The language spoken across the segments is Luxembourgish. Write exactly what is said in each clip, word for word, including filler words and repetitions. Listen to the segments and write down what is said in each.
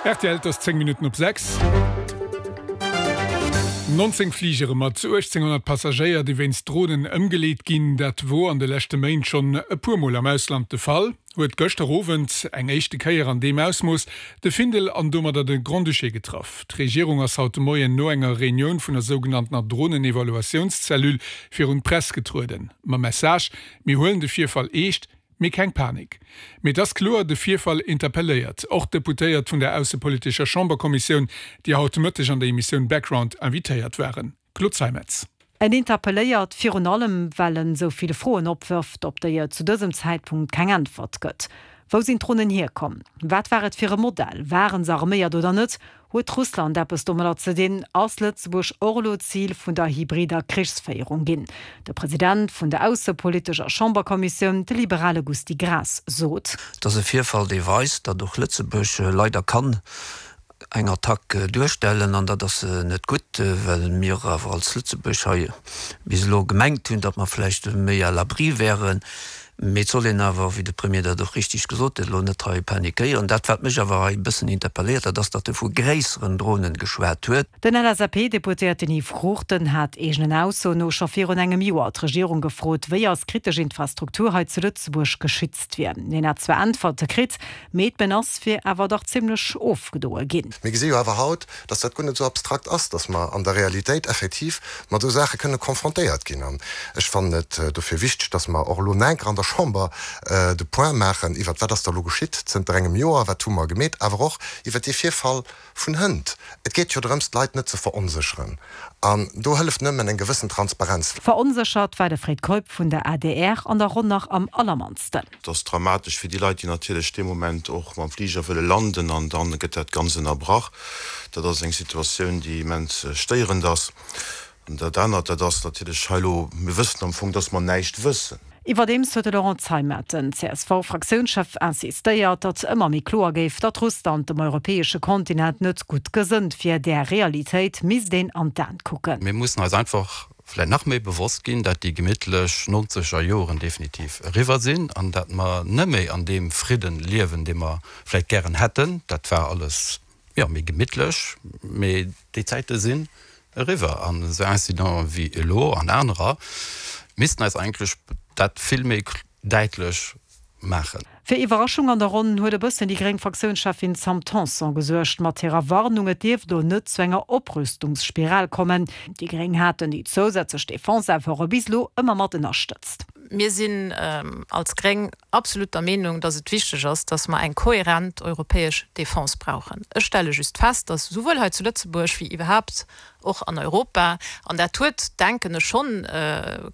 R T L, et ass zéng Minutten op sechs. nonzéng Fligere mat uechtzénghonnert Passagéier, déi wéinst Dronen ëmgeleet ginn, dat wor an de leschte Méint schonn e puer Mol am Ausland de Fall, huet gëschter Owend eng éischte Kéier an deem Ausmooss de Findel an domadder de Grand-Duché getraff. D'Regierung ass haut de Moien no enger Reunioun vun der sougenanntener Dronenevaluatiounscellule virun d'Press getrueden. Mam Message, Mir huelen de Virfall eescht, mee keng Panik. Mee et ass kloer, de Virfall interpelléiert och d'Deputéiert vun der aussepolitescher Chamberkommissioun, déi haut de Mëtteg an der Emissioun Background invitéiert waren. Claude Zeimetz. En interpelléiert virun allem, well en esou vill Froen opwërft, op déi et zu dësem Zäitpunkt keng Äntwert gëtt. Wou sinn d'Dronen hierkomm? Wat war et fir e Modell? Waren se arméiert oder net? Huet Russland eppes domadder ze dinn? Ass Lëtzebuerg och elo Zil vun der hybrider Krichsféierung ginn? De President vun der aussepolitescher Chamberkommissioun, de liberale Gusty Graas, sot. Et ass e Virfall, dee weist, datt och Lëtzebuerg leider kann eng Attack duerstellen, an dat ass net gutt, well mir awer als Lëtzebuerg hei bis elo gemengt hunn, datt mer vläicht méi à l'abri wären. Mee et soll een awer, wéi de Premier dat och richteg gesot huet, elo net hei panikéieren. Dat, wat mech awer hei e bëssen interpelléiert, dat ass, datt e vu gréisseren Dronen geschwat huet. Den L S A P-Deputéierten Yves Cruchten hat eegenen Aussoen no scho virun engem Joer d'Regierung gefrot, wéi eis kritesch Infrastruktur hei zu Lëtzebuerg geschützt wier. Hien hat zwar Äntwerte kritt, mee d'Menace wier awer dach zimmlech ofgedoe ginn. Mir gesi jo awer haut, dass dat guer net esou abstrakt ass, dass mer an der Realitéit effektiv mat esou Saache kënne konfrontéiert ginn. An ech fannen et dofir wichteg, dass mer och elo enker an der Chamber de Point maachen iwwert wat ass da elo geschitt zënter engem Joer, wat hu mer gemeet, awer och iwwert dee Virfall vun hënt. Et geet jo drëms, d'Leit net ze veronsécheren, an do hëlleft nëmmen eng gewëssen Transparenz. Veronséchert war de Fred Keup vun der A D R an der Ronn nach am allermannsten. Et ass dramatesch fir déi Leit, déi natierlech dee Moment och mam Fliger wëlle landen, an dann gëtt dat Ganzt ënnerbrach. Dat ass eng Situatioun, déi immens stéierend ass. An dat anert, dat ass natierlech hei elo, mir wëssen am Fong, dass mer näischt wëssen. Iwwerdeems huet de Laurent Zeimet, den C S V-Fraktiounschef, insistéiert, datt ëmmer méi kloer géif, datt Russland dem europäesche Kontinent net gutt gesënnt wier. Där Realitéit misst een an d'Aen kucken. Mir mussen eis einfach vläicht nach méi bewosst ginn, datt déi gemittlech nonzeger Joren definitiv eriwwer sinn an datt mer net méi an deem Fridden liewen, dee mer vläicht gären hätten. Dat war alles, jo, méi gemittlech, mee déi Zäite sinn eriwwer an esou Incidenten wéi elo an anerer missten eis eigentlech dat vill méi däitlech maachen. Fir Iwwerraschung an der Ronn huet e bëssen déi gréng Fraktiounscheffin Sam Tanson gesuergt mat hirer Warnung, et dierft do net zu enger Oprüstungsspiral kommen. Déi Gréng haten déi zousätzlech Defense-Efforte bis elo ëmmer mat ënnerstëtzt. Mir sinn als Gréng absolut der Meenung, dass et wichteg ass, dass mer eng kohärent europäesch Defense brauchen. Ech stelle just fest, dass souwuel hei zu Lëtzebuerg wéi iwwerhaapt och an Europa, an dat huet, denken ech schonn,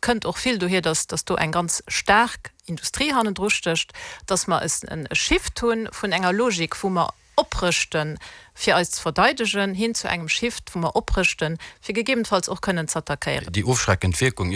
kënnt och vill dohier, dass dass do eng ganz staark Industrie hannendru stécht, dass mer e Shift hunn vun enger Logik, wou mer oprëschten, fir eis ze verdeidegen, hin zu engem Shift, wou mer oprëschten, fir gegebenfalls och kënnen ze attackéieren. Déi ofschreckend Wierkung